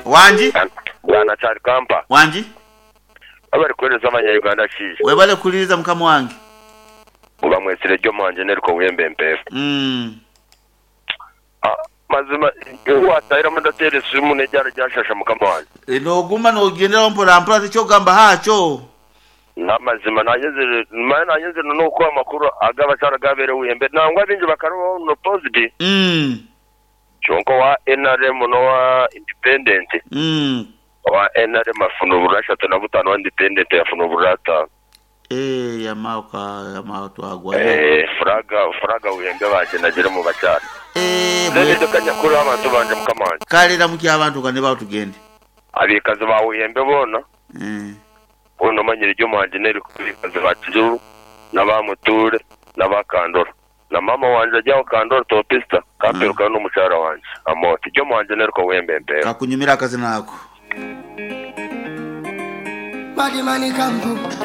Wangi? Bwana Kyalikampa. Wangi? Webale kuwereza abanya Uganda Kiija. Webale kuwuliriza mukama wange. Oba mwetsire gye omwanje neriko wemba empeefu. Mazima watahiramu ndatera esimu neryara ryashasha mukama wangye. Noguma nogyenderaho mpora mpora tikyogamba hakyo. Namazima nanyenzire manya nanyenzire nokuha amakuru agabakyara gabere wembe nangwa abingi bakarubaho no positi kyonka owa nrm nowa independent owa nrm afuna obururu 35 owa independent yafuna obururu 5. Eeh yamao ka yamao twagwa Eeh furaga furaga wembe bagyenagire omu bakyara. Eeh Then ndeka nyakure abantu bangye mukama wangye. Kale ramukya abantu nga nibaho tugende. Abaikazi ba Wembe boona, boona omanyire gye omwangye n'eriko abaikazi ba Kijuru n'aba Mutuure n'aba Kandoro. Na maama wangye ari aho Kandoro Topista, kamperukayo n'omukyara wangye Amooti. Gye omwangye n'eriko Wembe mpeeho. Kakunyumira akazina ako.